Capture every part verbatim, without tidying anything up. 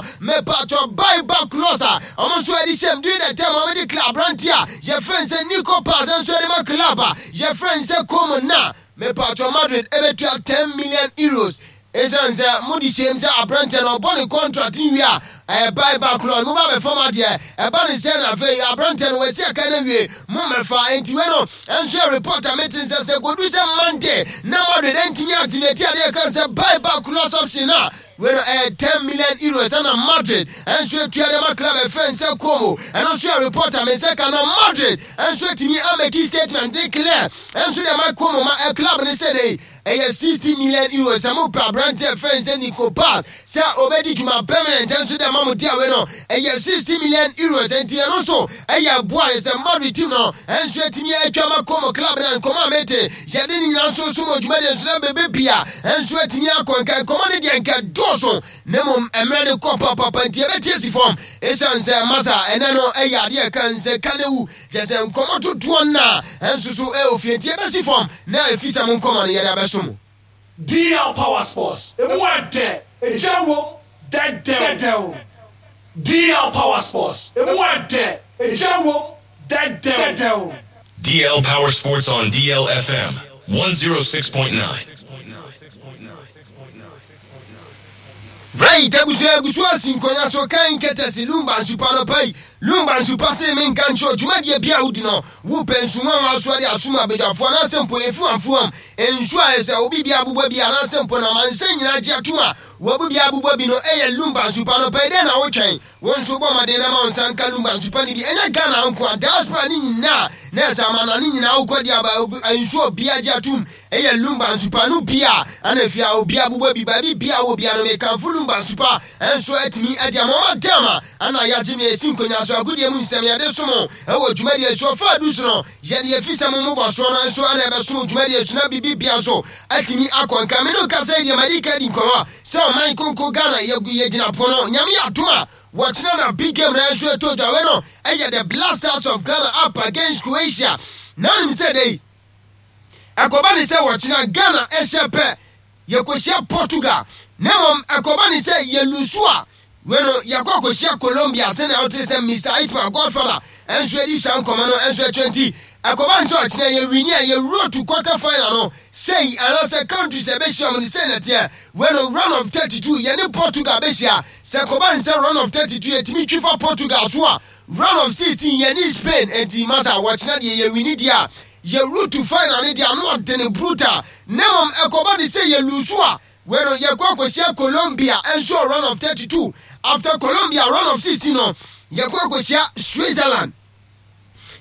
no, mepatɔ, buy back clause a ɔmo nso ɛde hyɛm during the time ɔmo de club aberante a yɛfrɛ sɛ Nico Paz nso ɛde ma club a yɛfrɛ sɛ Como na mepatɔ, Madrid ɛbɛtua ten million euros, ɛsiane sɛ mode hyɛm sɛ aberante no ɔbɔ ne contract nwie a ɛyɛ buy back clause, mo ba bɛfam adeɛ ɛba ne sɛ na afei aberante no wɔasi aka no awie, mo mɛfa. Enti wei no ɛnso yɛ report a mete sɛ sɛ kɔdu sɛ Monday na Madrid ɛntumi activate adeɛ ka sɛ buy back clause option a, wei no ɛyɛ ten million euros ɛna Madrid ɛnso atua de ma club ɛfɛn sɛ Como. Ɛno nso yɛ report a me sɛ ka na Madrid ɛnso atumi a make statement de clear ɛnso de ma Como ma ɛ club ne sɛ de ɛyɛ sixty million euros sɛ mopɛ aberante ɛfɛn sɛ Nico Paz sɛ obɛdi dwuma permanent nso de ama mo di awe no, ɛyɛ sixty million euros. Nti ɛno nso ɛyɛ boa yɛ sɛ Madrid team no ɛnso atumi atwa ma Como club no. Nkɔmɔ a mete yɛde ne nyinaa nso so ma dwumadeɛ nso na bebe bia ɛnso atumi akɔ nka nkɔmɔ no deɛ nka dɔɔso, na mmom mmerɛ no kɔ papapa, nti yɛbɛtie si fam, ɛsiane sɛ masa ɛnɛ no ɛyɛ adeɛ ka nsɛ ka ne wu kyɛ sɛ nkɔmɔ totoɔ no a ɛnso so ɛwɔ fie, nti yɛbɛsi fam na ɛfi sɛ mo nkɔmɔ no yɛde abɛso mo. D L Power Sports. Emu ɛdɛ, egya wom, dɛdɛw. Dɛdɛw. D L Power Sports. Emu ɛdɛ, egya wom, dɛdɛw. Dɛdɛw. D L Power Sports on D L F M one oh six point nine. Right, abusua, agusu asi nkonnwa so kan kɛtɛsi Lumba nsupa no pa yi. Lumba nsupa se menka nkyerɛ dwumadie bi a wodi no, wopɛ nsuwa wa so ade asom abadwafoɔ anaasɛ mpo ɛfiwamfiwam nsu a ɛsɛ obi bi abobɔ bi anaasɛ mpo na mansɛ nyinaa gye atom a wɔbu bi abobɔ bi no, ɛyɛ Lumba nsupa no pa yi. Dɛn na wotwɛn? Wo nso bɔ mmɔden na ma wo nsa nka Lumba nsupa no bi. Ɛnyɛ Ghana nko a, diaspora ne nyinaa na ɛsɛ amana ne nyinaa wokɔdi aba nsuo bia gye atom, ɛyɛ Lumba nsupa no bia ana fia obi abobɔ bi baabi bia wɔ bia no. Mekamfo Lumba nsupa ɛnso atumi ade ama ɔma dam a ana yɛagye no ɛsi nkonnwa so agodie mu nsɛm yɛde som ɛwɔ dwumadie so ɔfa adu so no, yɛde yɛfi sɛ mo mobɔ soɔ no nso ana ɛbɛsom dwumadie so na biribi bia nso atumi akɔ nka. Me no kasa yi deɛ, madi ka di nkɔmmɔ sɛ ɔman konko Ghana yɛgyina pono. Nyame yɛ adom a, wɔkyena na big game na ɛnso ɛtɔ dwa. Wei no ɛyɛ the Black Stars of Ghana up against Croatia. Na onim sɛ dei ɛkɔba ne sɛ wɔkyena Ghana ɛhyɛ pɛ, yɛkɔhyia Portugal, na mmom ɛkɔba ne sɛ yɛ lose a, wei no yɛkɔ akɔhyia Colombia, sɛnea wote sɛ Mister Itman Godfather ɛnso adi saa nkɔmmɔ no ɛnso ɛkyerɛ. Nti ɛkɔba ne sɛ ɔkyena yɛ win a, yɛwuro to quarter final no sei anaasɛ countries a ɛbɛhyia mu no sei na teɛ. Wei no round of thirty-two, yɛne Portugal bɛhyia. Sɛ kɔba ne sɛ round of thirty-two yɛtumi twi fa Portugal so a, round of sixteen yɛne Spain. Enti masa, wɔkyena deɛ yɛ win deɛ a, yɛwuro to final no deɛ ano ɔde ne brutal, na mmom ɛkɔba ne sɛ yɛ lose a, wei no yɛkɔ akɔhyia Colombia ɛnso round of thirty-two. After Colombia, round of sixteen no yɛkɔ akɔhyia Switzerland.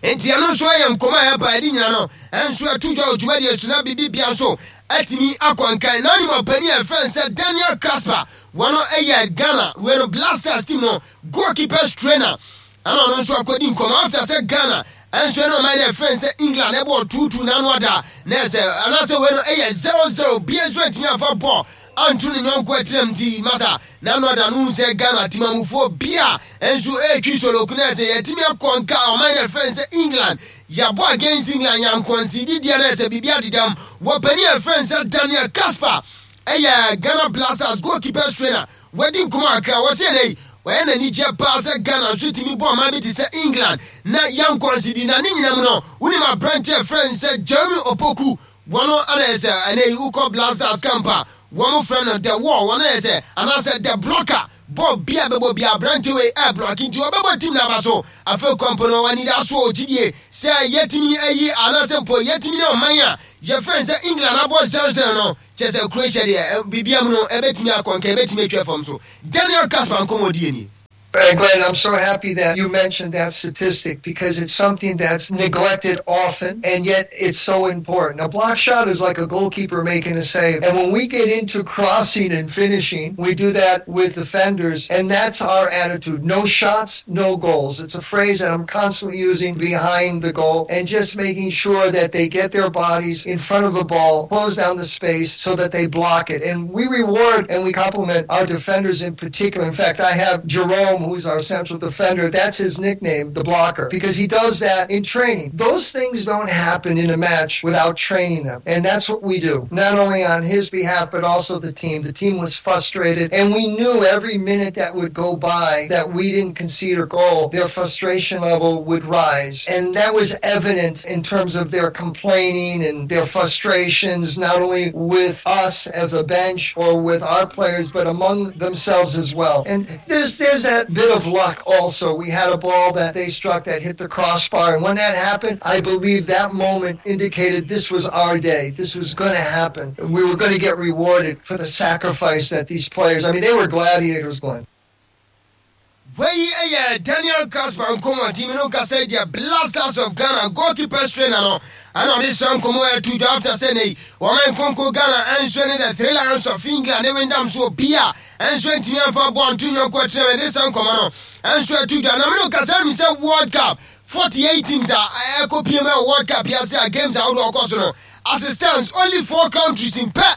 Nti ɛno nso yɛ nkɔmɔ a ɛba ɛde nyina no ɛnso ɛto dwa wɔ dwumadie so na biribi bia nso atumi akɔ nkan. Na onim ɔpanin a ɛfɛn sɛ Daniel Casper, wɔn ɛyɛ Ghana wei no Black Stars team no goalkeepers trainer, ɛna ɔno nso akɔdi nkɔmɔ after sɛ Ghana ɛnso ɛna ɔman no ɛfɛn sɛ England ɛbɔ two two n'ano ada na ɛsɛ anaasɛ wei no ɛyɛ zero zero bia nso atumi afa bɔɔl anto ne nyɔnko atiram. Nti masa, n'ano ada no sɛ Ghana timamufoɔ bia nso ɛretwi soloku na ɛsɛ yɛtumi akɔ nka ɔman no ɛfɛn sɛ England, yɛabɔ against England, yɛankɔnsi didiɛ na ɛsɛ biribi adedam. Wɔpanin ɛfɛn sɛ Daniel Casper, ɛyɛ Ghana Black Stars goalkeepers trainer, wɔadi nkɔmɔ akra. Wɔsɛ ɛnɛ yi wɔyɛ n'ani gye paa sɛ Ghana nso tumi bɔ ɔman bi te sɛ England na yɛnkɔnsi di. Na ne nyinam no, wonim aberante ɛfrɛ sɛ Jeremy Opoku, wɔn ana yɛ sɛ ɛnɛ yi wokɔ Black Stars camp a, wɔn frɛ no the wall, wɔn yɛ sɛ anaasɛ the blocker. Bɔɔl bia bɛbɔ bia, aberante wei ɛ block, nti ɔbɛbɔ team n'aba so. Afei kwampo no wɔn so gyidie sɛ yɛtumi ayi anaasɛ mpo yɛtumi ne ɔman a yɛfrɛ sɛ England abɔ zero zero no, kyɛ sɛ Croatia deɛ, biribia mu no ɛbɛtumi akɔ nka, ɛbɛtumi atwa fam so. Daniel Casper nkɔmmɔdie nie. Uh, Glenn, I'm so happy that you mentioned that statistic because it's something that's neglected often, and yet it's so important. A block shot is like a goalkeeper making a save. And when we get into crossing and finishing, we do that with defenders, and that's our attitude. No shots, no goals. It's a phrase that I'm constantly using behind the goal and just making sure that they get their bodies in front of the ball, close down the space so that they block it. And we reward and we compliment our defenders in particular. In fact, I have Jerome, who's our central defender, that's his nickname, the blocker, because he does that in training. Those things don't happen in a match without training them. And that's what we do, not only on his behalf, but also the team. The team was frustrated, and we knew every minute that would go by that we didn't concede a goal, their frustration level would rise. And that was evident in terms of their complaining and their frustrations, not only with us as a bench or with our players, but among themselves as well. And there's there's that bit of luck also. We had a ball that they struck that hit the crossbar, and when that happened, I believe that moment indicated this was our day. This was going to happen. We were going to get rewarded for the sacrifice that these players, I mean, they were gladiators, Glenn. Wei ɛyɛ Daniel Kasper nkɔmɔ timi no kasa deɛ, Black Stars of Ghana goalkeeper trainer no, ɛna ɔde hyɛ nkɔmɔ ɛtu dwa after sɛ nei wɔma nkonko Ghana ɛnso ne the Three Lions of England ne wendam so obi a ɛnso ntumi amfa bɔɔl nto nyɔnko akyerɛ mɛ de hyɛ nkɔmɔ no ɛnso ɛtu dwa. Na mene kasa nim sɛ World Cup, forty-eight teams a ɛkɔ pie mu ɛwɔ World Cup yɛase a games ahodoɔ ɔkɔ so no, as it stands, only four countries in pɛ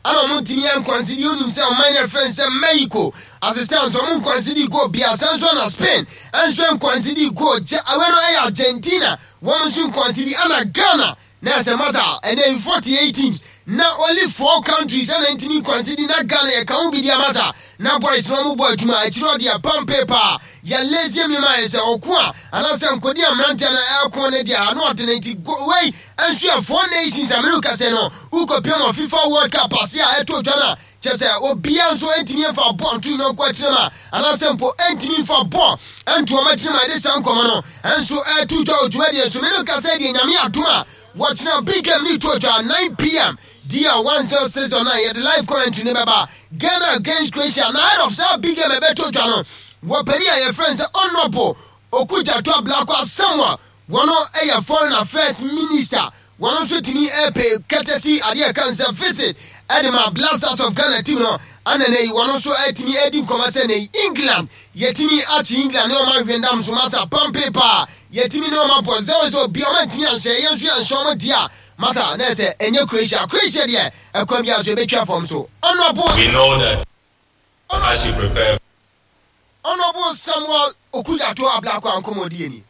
ana ɔmo ntumi yɛ nconcede. Onim sɛ ɔman yɛ fɛn sɛ Mexico, as it stands, ɔmo nconcede goal bia. Sɛ nso na Spain nso nconcede goal gye awɛ no ɛyɛ Argentina, wɔn nso nconcede, ana Ghana na ɛsɛ masa ɛnɛ forty eight teams na only four countries ɛna ntumi nconcede, na Ghana yɛ kan ho bi di amasa na boys na ɔmo bɔ adwuma akyire. Ɔde ɛpam paper yɛ lazy mi ma yɛ sɛ ɔko a anaasɛ nkodi mmeranteɛ no ɛko ne deɛ ano ɔde ne nti wei nso yɛ four nations. America sɛ no wokɔ piem wɔ FIFA World Cup ase a ɛto dwa no a kyerɛ sɛ obia nso ntumi mfa bɔɔl nto nyɔnko akyerɛ mu a anaasɛ mpo ntumi mfa bɔɔl nto ɔmo akyerɛ mu a yɛde saa nkɔmɔ no nso ɛto dwa wɔ dwumadie so. Mene kasa deɛ, Nyame adom a, wɔkyena big game ne to dwa nine p m, D L one oh six point nine, yɛde live commentary ne bɛba, Ghana against Croatia. Na ahead of saa big game ɛbɛto dwa no, wɔpani a yɛfrɛ no sɛ Honourable Okudzeto Ablakwa Samuel, wɔno ɛyɛ Foreign Affairs Minister, wɔno nso tumi ɛpɛ courtesy adeɛ ɛka nsɛ visit ɛde ma Black Stars of Ghana team no. Ana ne yi wɔno nso ɛtumi ɛdi nkɔmɔ sɛ ne England yɛtumi akyi England ne ɔma ahwendam so masa pampe paa, yɛtumi ne ɔma bɔ zero zero bia, ɔma ntumi anhyɛ, yɛn nso yɛnhyɛ ɔmo di a masa na ɛsɛ ɛnyɛ Croatia. Croatia deɛ, ɛkwan bi a so ɛbɛtwa fam so. Honourable We know that as you prepare Honourable Samuel Okudzeto Ablakwa nkɔmɔdie ni.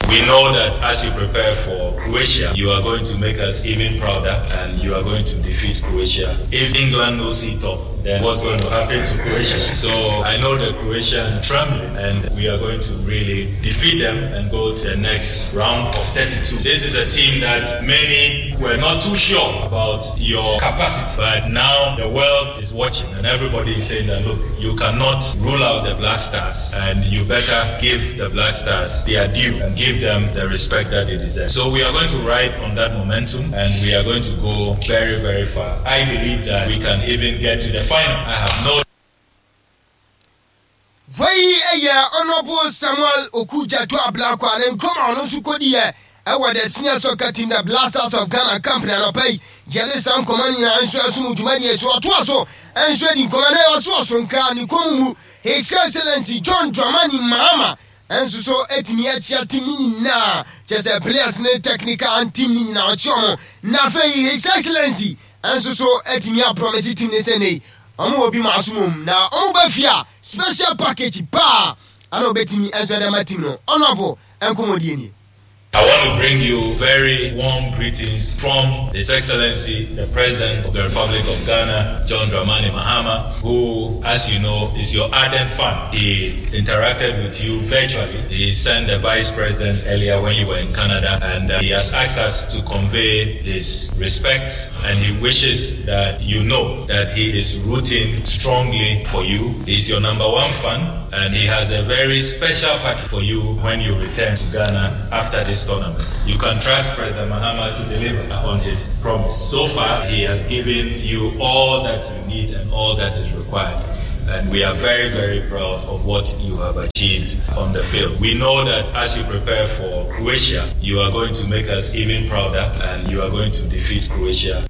We know that as you prepare for Croatia, you are going to make us even prouder and you are going to defeat Croatia. If England no see top, then what's going to happen to Croatia? So I know that Croatia is trembling and we are going to really defeat them and go to the next round of thirty-two. This is a team that many were not too sure about your capacity, but now the world is watching and everybody is saying that, look, you cannot rule out the Black Stars and you better give the Black Stars their due and give them the respect that they deserve. So we are going to ride on that momentum and we are going to go very, very far. I believe that we can even get to the final. I have no Wei ɛyɛ Honourable Samuel Okudzeto Ablakwa ne nkɔm a ɔno nso kɔdiɛ ɛwɔ the senior soccer team, the Black Stars of Ghana company. Anɔpa yi yɛde saa nkɔmɔ nyinaa nso ɛsom dwumadie so. Ɔtoa so nso adi nkɔmɔ na ɛwɔ so ɔso nkra ne kɔn mu, His Excellency John Dramani Mahama nso so etumi akyia team ne nyinaa, kyerɛ sɛ players ne technical and team ne nyinaa ɔkye ɔmo. Na afei His Excellency nso so etumi apromise team ne sɛ nei ɔmo wɔ bi mu asom na ɔmo ba fie a, special package paa ana obetumi nso ɛde ama team no. Honourable nkɔmɔdie nie. I want to bring you very warm greetings from His Excellency, the President of the Republic of Ghana, John Dramani Mahama, who, as you know, is your ardent fan. He interacted with you virtually. He sent the Vice President earlier when you were in Canada, and uh, he has asked us to convey his respect, and he wishes that you know that he is rooting strongly for you. He's your number one fan, and he has a very special package for you when you return to Ghana after this tournament. You can trust President Mahama to deliver on his promise. So far, he has given you all that you need and all that is required. And we are very, very proud of what you have achieved on the field. We know that as you prepare for Croatia, you are going to make us even prouder and you are going to defeat Croatia.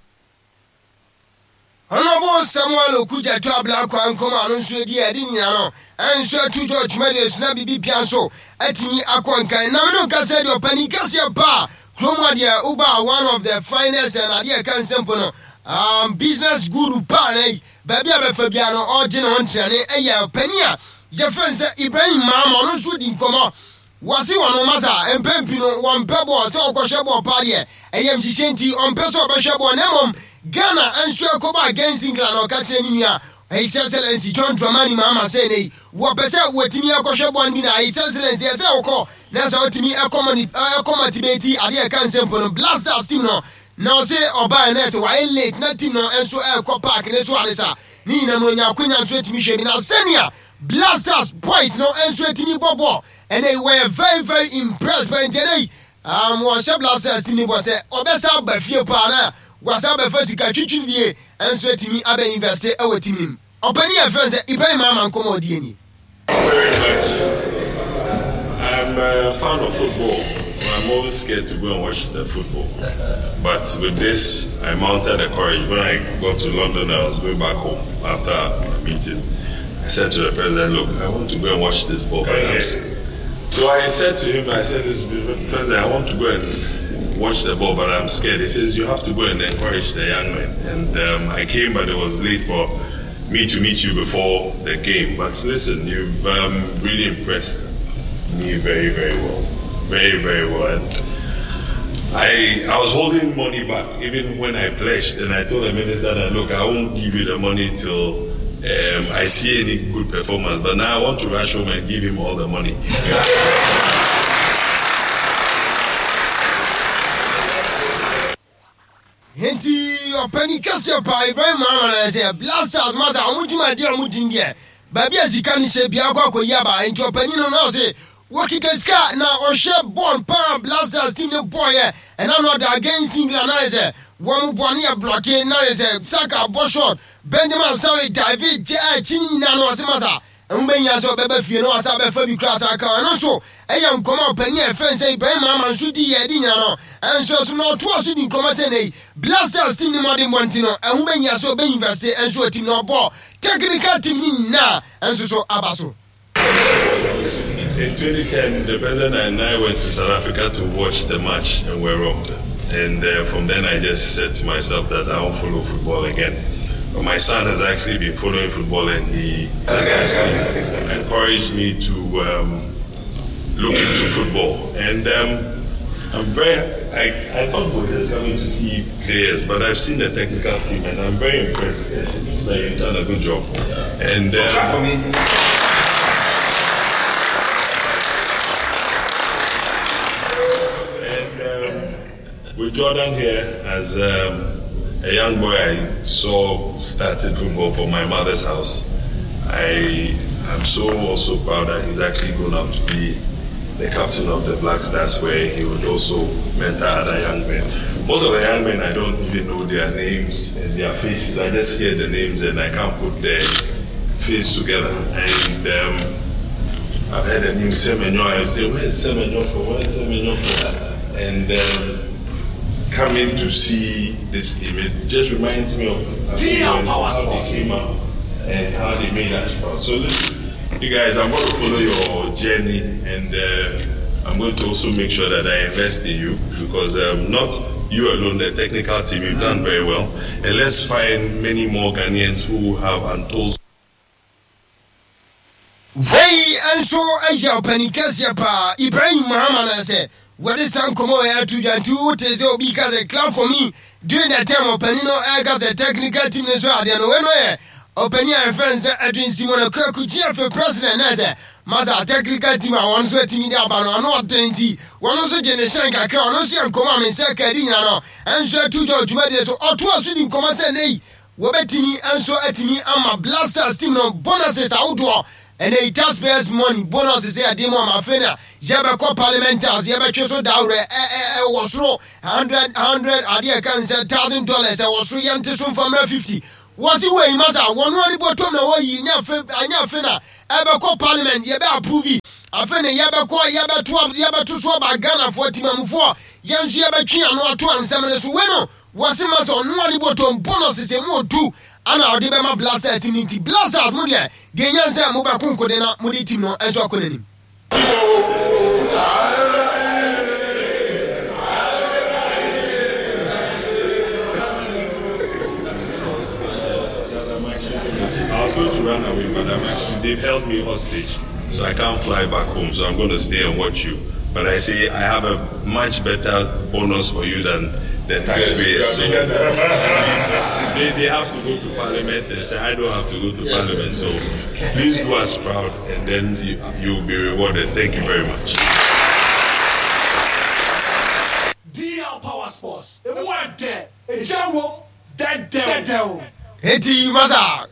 Honourable Samuel Okudzeto Ablakwa nkɔmɔ ano nso edi ɛde nyina no ɛnso atu dwa dwumadie so na biribi pia nso atumi akɔ nkan. Na mene kasa deɛ, ɔpani kɛseɛ paa kurom adeɛ woba, one of the finest and adeɛ ɛka nsɛmpo no um, business guru paa na yi baabi a bɛfa bia no ɔgye ne ho ntrɛne, ɛyɛ ɔpani a Yɛfrɛ sɛ Ibrahim Mahama, ɔno nso di nkɔmmɔ. Wɔse wɔn masa mpɛmpi no wɔmpɛ bɔɔl sɛ ɔkɔhwɛ bɔɔl paa deɛ, ɛyɛ nhyehyɛ nti ɔmpɛ sɛ ɔbɛhwɛ bɔɔl, na mmom Ghana nso ɛkɔbɔ against England. Ɔka kyerɛ ne nua His Excellency John Dramani Mahama sɛ ne wɔpɛ sɛ wɔtumi akɔhwɛ bɔɔl bi, na His Excellency ɛsɛ wɔkɔ na sɛ ɔtumi ɛkɔ motivate adeɛ ɛka nsɛmpo no Black Stars team no. Na ɔse ɔbaa na ɛsɛ wayɛ late na team no nso ɛkɔ park ne so ade sa ne nyinaa no, onya akonya nso atumi hwɛ bi, na sɛnea Black Stars boys no nso atumi bɔ bɔɔl ɛnɛ wɔyɛ very very impressed by. Nti ɛnɛ yi um, wɔhyɛ Black Stars team ne bɔ sɛ ɔbɛsa aba fie paa na wasa abɛfa sika twitwirie nso atumi abɛ invest ɛwɔ team nim. Ɔpanin yɛ fɛn sɛ Ibrahim Mahama, nkɔmɔ ɔdi ani. Very much. I'm a fan of football. I'm always scared to go and watch the football. But with this, I mounted the courage. When I got to London, I was going back home after a meeting. I said to the president, "Look, I want to go and watch this ball." But I'm scared. So I said to him, I said, "This president, I want to go and watch the ball, but I'm scared." He says, "You have to go and encourage the young men." And um, I came, but it was late for me to meet you before the game. But listen, you've um, really impressed me very, very well. Very, very well. And I, I was holding money back even when I pledged, and I told the minister that, "Look, I won't give you the money till um, I see any good performance." But now I want to rush home and give him all the money. Nti ɔpanin kɛseɛ paa Ibrahim Mahama na sɛ Black Stars masa ɔmo dwumadeɛ a ɔmo di deɛ, baabi a sika no hyɛ bia akɔ akɔyi aba. Nti ɔpanin no na ɔse wɔkita sika na ɔhwɛ bɔɔl paa Black Stars team ne bɔɔyɛ ɛna no ɔda against England, na yɛ sɛ wɔn bɔ ne yɛ block, na yɛ sɛ Saka bɔ shot, Benjamin Asare dive gye akyi ne nyinaa no, ɔse masa ɛho bɛnya sɛ ɔbɛba fie na wasa bɛfa bi kura sa ka. Ɛno nso ɛyɛ nkɔmɔ a ɔpanin a ɛfɛn sɛ Ibrahim Mahama nso di yɛ ɛdi nyina no ɛnso so, na ɔtoa so di nkɔmɔ sɛ nei Black Stars team ne mmɔden bɔnten no, ɛho bɛnya sɛ ɔbɛ invest ɛnso wɔ team na ɔbɔ technical team ne nyinaa ɛnso so aba so. In twenty ten, the president and I went to South Africa to watch the match and were robbed. And uh, from then, I just said to myself that I won't follow football again. But my son has actually been following football and he has actually encouraged me to um, look into football. And um, I'm very, I, I thought we were just coming to see players, but I've seen the technical team and I'm very impressed. It looks like you've done a good job. And um, Clap for me. And um, with Jordan here, as um, a young boy I saw started football for my mother's house, I am so also proud that he's actually grown up to be the captain of the Black Stars, where he would also mentor other young men. Most of the young men, I don't even know their names and their faces. I just hear the names and I can't put their face together. And um, I've heard the name Semenyo. I say, "Where's Semenyo from? Where's Semenyo from?" And um, coming to see this team, it just reminds me of D L Power how they Sports. Came up and how they made us proud. So listen, you guys, I'm going to follow your journey and uh, I'm going to also make sure that I invest in you because um, not you alone, the technical team, you've done very well. And let's find many more Ghanaians who have untold Wei nso yɛ ɔpanin kɛseɛ paa Ibrahim Mahama na sɛ wɔde saa nkɔmmɔ wɔ ato dwa. Nti wote sɛ obi ka sɛ "Clap for me" during the time ɔpanin no ɛka sɛ technical team no so adeɛ no, wei no yɛ ɔpanin a yɛfrɛ no sɛ Edwin Simon Okraku G F A president, na sɛ masa technical team a wɔn nso atumi de aba no ɔno ɔdene, nti wɔn nso gye ne hyɛn kakra. Ɔno nso yɛ nkɔmmɔ a me nsa ka adi nyina no ɛnso ato dwa dwumadie so. Ɔtoa so di nkɔmmɔ sɛ nei wɔbɛtumi nso atumi ama Black Stars team no bonuses ahodoɔ, ɛnɛ yi taxpayers money bonuses yɛ adeɛ mu ama afei na yɛbɛkɔ Parliament House, yɛbɛtwe so daworɛ ɛwɔ soro hundred hundred adeɛ ɛka n sɛ thousand dollars ɛwɔ soro, yɛnte so mfamra fifty. Wɔsi wɔ yi masa wɔn ani bɔtɔm na wɔyi nya afe anya afe na ɛbɛkɔ Parliament, yɛbɛ approve, afei na yɛbɛkɔ yɛbɛto yɛbɛto so aba Ghanafoɔ timamufoɔ, yɛn nso yɛbɛtwe ano ato ansɛm no so. Wei no wɔsi masa ɔno ani bɔtɔm bonuses emu odu ana ɔde bɛma Black Stars team no. Nti Black Stars mo deɛ deɛ nyɛ sɛ mobɛko nkode na mode team no nso akɔ n'anim. That I'm actually to, I was going to run away, but I'm actually, they've held me hostage, so I can't fly back home. So I'm going to stay and watch you. But I say I have a much better bonus for you than the taxpayers. Yes, So you are bigger than- at least they, they have to go to parliament and say I don't have to go to parliament. So please do us proud, and then you, you'll be rewarded. Thank you very much. D L Power Sports. Emu ɛdɛ, egya wom, dɛdɛw. Eti masa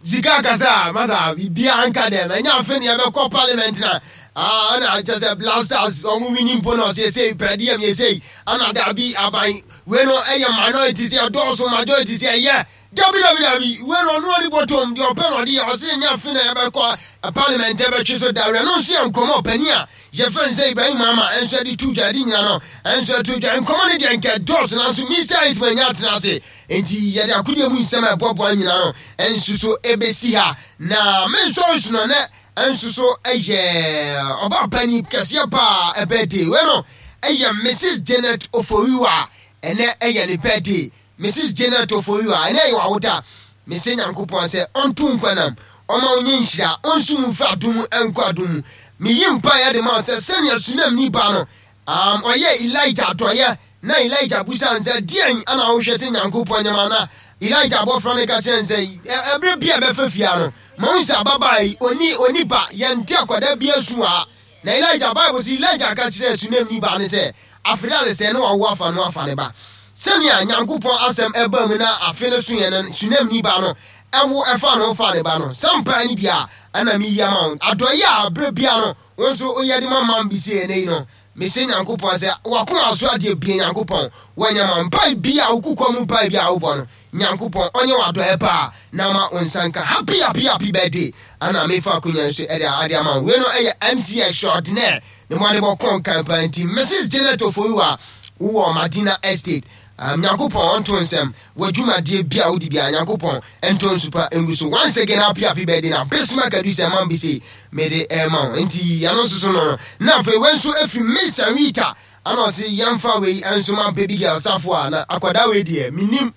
sika kasa masa biribiara nka dɛm ɛnyɛ afe ne yɛbɛkɔ parliament na ah, ɛna kyɛ sɛ Black Stars ɔmo wini mpo na ɔsɛ sei pɛdeɛm yɛ sei ana dabi aban wei no ɛyɛ minority sɛ ɛdɔɔso, majority sɛ ɛyɛ dabi dabi dabi. Wei no ɔno ɔde bɔtɔm deɛ ɔpɛ no ɔde yɛ. Ɔsɛ ɛnyɛ afe na yɛbɛkɔ eh, parliament ɛbɛtwe so dawurɛ no nso yɛ nkɔmɔ ɔpani a yɛfɛn sɛ Ibrahim Mahama ɛnso ɛde tu dwa ɛde nyina no ɛnso ɛto dwa. Nkɔmɔ no deɛ nkɛ dɔɔso, nanso Mister Ismail nya atena ase nti yɛde akodeɛ mu nsɛm a ɛboaboa nyina no ɛnso so ɛbɛsi ha na me nsɔre no nɛ ɛnso so ɛyɛ ɔbaa pani kɛseɛ paa ɛbɛde wei no ɛyɛ Missus Janet Oforiwa. Ɛnɛ ɛyɛ ne birthday. Missus Janet Oforiwa, ɛnɛ ɛyɛ wawoda. Mese Nyankopɔn sɛ ɔnto nkwanam ɔma wonyɛ nhyira ɔnso mu mfi adom mu ɛnkɔ adom mu. Meyi mpaeɛ de ma wo sɛ sɛnea Sunam nipa no um, ɔyɛ Elijah adɔyɛ na Elijah busa n sɛ deɛn ana wohwɛ sɛ Nyankopɔn nyɛma na Elijah abɔfra no ka kyerɛ n sɛ ɛ- ɛberɛ bi a ɛbɛfa fia no ma wo sɛ ababaa yi ɔni ɔni ba yɛnte akwadaa bi asu a na Elijah Bible sɛ Elijah ka kyerɛ Sunam ni ba ne sɛ afei ade sɛ ne wawo afa no afa ne ba sɛnea Nyankopɔn asɛm ɛba mu na afe no so yɛ no Sunam ni ba no ɛwo ɛfa no fa ne ba no sɛ mpaa no bi a ɛna meyi ama wo adɔyɛ a berɛ bia no wo nso woyɛ de ma mam bi sɛ ɛnɛ yi no mese Nyankopɔn sɛ wakoma so adeɛ bie Nyankopɔn wɔnyɛ ma mpae bi a wokukɔ mu mpae bi a wobɔ no Nyankopɔn ɔnyɛ wadɔɛ paa na ma wo nsa nka. Happy, happy, happy birthday. Ana mefa akonya nso ɛde ade ama wo. Wei no ɛyɛ M C extraordinaire ne mo ade bɔkɔ nkan paa nti Missus Janet Oforiwa wowɔ Madina Estate, um, Nyankopɔn ɔnto nsɛm w'adwumadeɛ bi a wodi bia Nyankopɔn ɛnto nsupa ngu so. Once again, happy, happy birthday. Na Bismarck adu sɛ man bi se mede ɛma wo nti ɛno nso so no no na afei wei nso afiri Miss Rita ana ɔse yɛmfa wei nso ma baby girl Safo a na akwadaa wei deɛ menim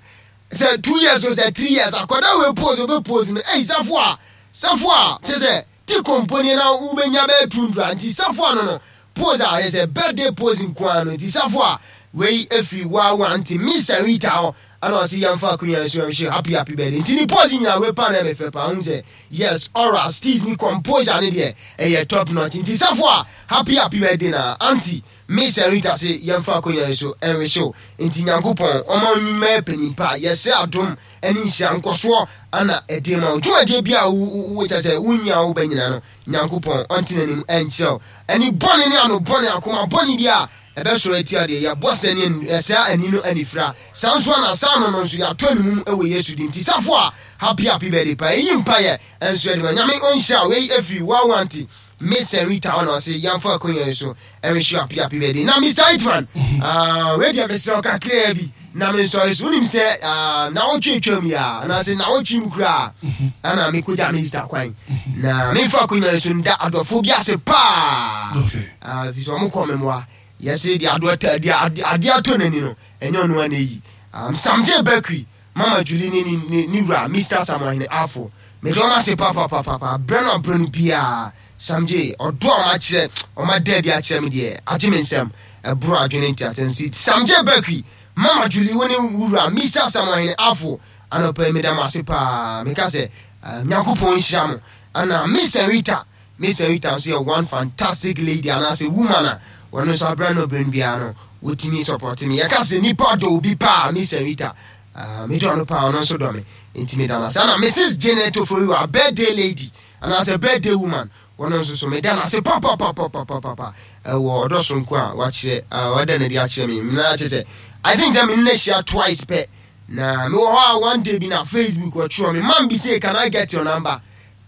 sɛ two years o sɛ three years akwadaa wei pose obe pose no ɛyi Safo a Safo a kyerɛ sɛ ti komponi na wobɛnya bɛyɛ tundra nti Safo a no no pose a yɛ sɛ birthday pose nko ara no nti Safo a wei efiri waawa nti Miss Rita hɔ ana ɔsi yɛmfa akonnwa nso ɛnhwɛ happy, happy birthday nti ne pose nyinaa wei pa na ɛmɛ fɛ pa ahun sɛ yes, aura steez ne composure ne deɛ ɛyɛ top notch nti Safo a happy, happy birthday. Na aunty Miss Rita se yɛmfa akonnwa nso ɛnhwɛ nti Nyankopɔn ɔma onyima panyin pa yɛsrɛ adom ɛne nhyira nkɔsoɔ ana ɛde ma wo dwumadie bi a wo kyɛ sɛ wonyi a wobɛ nyina no Nyankopɔn ɔnte n'anim ɛnkyerɛ wo ɛne bɔne ne ano bɔne akoma bɔne bi a ɛbɛsɔrɔ atia deɛ yɛbɔ sɛ ne ɛsɛ ani no anifira saa nso ana saa no no nso yɛatɔ ne mu ɛwɔ Yesu din nti Safo a happy, happy birthday pa ɛyi mpayɛ ɛnso ɛde ma Nyame ɔnhyira wei ɛfiri wawanti Miss Rita ɔna ɔse yɛmfa akonnwa yi so ɛnhwɛ happy, happy birthday. Na Mister Hitman, ah, wei deɛ mesrɛ wo kakraa bi na mensɔre so. Wonim sɛ ah, nawɔtwe twam yi a anaasɛ nawɔtwe mu koraa ana mekɔgya minister kwan na memfa akonnwa yi so nda adɔfoɔ bi ase paa. Okay. Ah, ɛfiri sɛ ɔmo kɔ me mmoa yɛse deɛ adoɔ ta deɛ ade adeɛ atɔ n'ani no ɛnyɛ ɔno ana yi um, Samgye Bakery, Mama Julie ne ne ne ne wura Mister Samuahene Afo, mede ɔmo ase papapapapa brɛ no abrɛ no biaa. Samgye ɔdɔ a ɔmo akyerɛ ɔmo ada adi akyerɛ me deɛ agye me nsɛm ɛboro adwene nti atɛm si Samgye Bakery, Mama Julie wo ne wura Mister Samuahene Afo anɔpa yi meda mo ase paa. Meka sɛ uh, Nyankopɔn nhyira mo. Ana Miss Rita, Miss Rita nso yɛ one fantastic lady anaasɛ woman a wɔno nso abrɛ no brɛ no biara no wɔtumi support me. Yɛka sɛ nipa dɔ obi paa, Miss Rita, uh, medɔ no paa, ɔno nso dɔ me nti meda no ase. Ana Missus Janet Oforiwa, birthday lady anaasɛ birthday woman, wɔno nso so meda no ase papapapapapapa ɛwɔ ɔdɔ sonko a wakyerɛ uh, wada no adi akyerɛ me na kyerɛ sɛ I think sɛ mene no ahyia twice pɛ na mewɔ hɔ a one day bi na Facebook ɔtwerɛ me man bi say, "Can I get your number?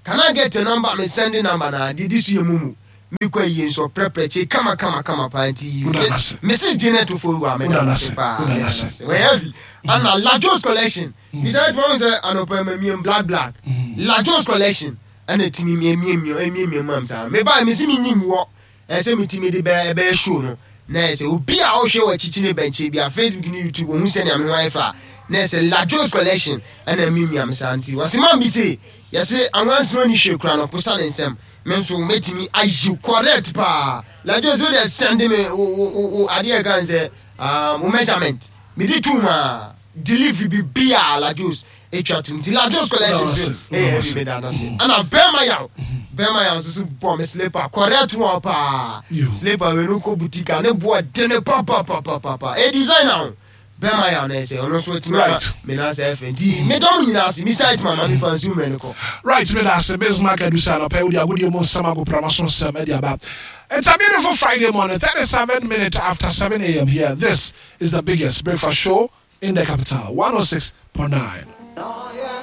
Can I get your number?" Me send number na didi so yɛ mumu mekɔ yie nso ɔprɛprɛ kye kama kama kama paa nti Woda no ase. Missus Janet Oforiwa meda Woda no no ase ase. paa. Woda no meda no ase. ase. Wɔyɛ heavy ana Lajos Collection Mister Edmond sɛ anɔpa ma miem black black Lajos Collection ɛna timi miemiemie emiemie mam saa meba mesi mi nyim wɔ ɛsɛ mi timi de bɛyɛ ɛbɛyɛ show no na ɛsɛ obi a ɔhwɛ wɔ akyikyi ne bɛnkyɛn bi a Facebook ne YouTube ohun sɛnea me ho ayɛ fa na ɛsɛ Lajos Collection ɛna miamia me saa nti wɔsi maa mi se Yɛse anwansena ni hwee kura no posa ne nsɛm. Me nso mɛtumi ayi correct paa. Ladjo so deɛ, send me wo wo wo adeɛ kan sɛ um, wo measurement mede tu ma delivery bi bia Lajos etwa tum. Nti Lajos Collection so ɛyɛ ɛbi meda no ase. Ɛna bɛrima yaw, bɛrima yaw nso so bɔ me slipper correct one paa. Slipper wei no kɔ boutique a ne boɔ dene papapapapa, ɛ designer o. Bɛrima yaw na ɛsɛ ɔno nso atumi ama me nan sɛ ɛfɛ. Nti medɔ mo nyinaa ase. Mister Itman, ma mefa nsi mmerɛ no kɔ. Right, me da ase, Bismarck Adusa anɔpɛ wode agodie mu nsɛm agoprama so nsɛm de aba. It's a beautiful Friday morning, thirty-seven minutes after seven a m here. This is the biggest breakfast show in the capital, one oh six point nine.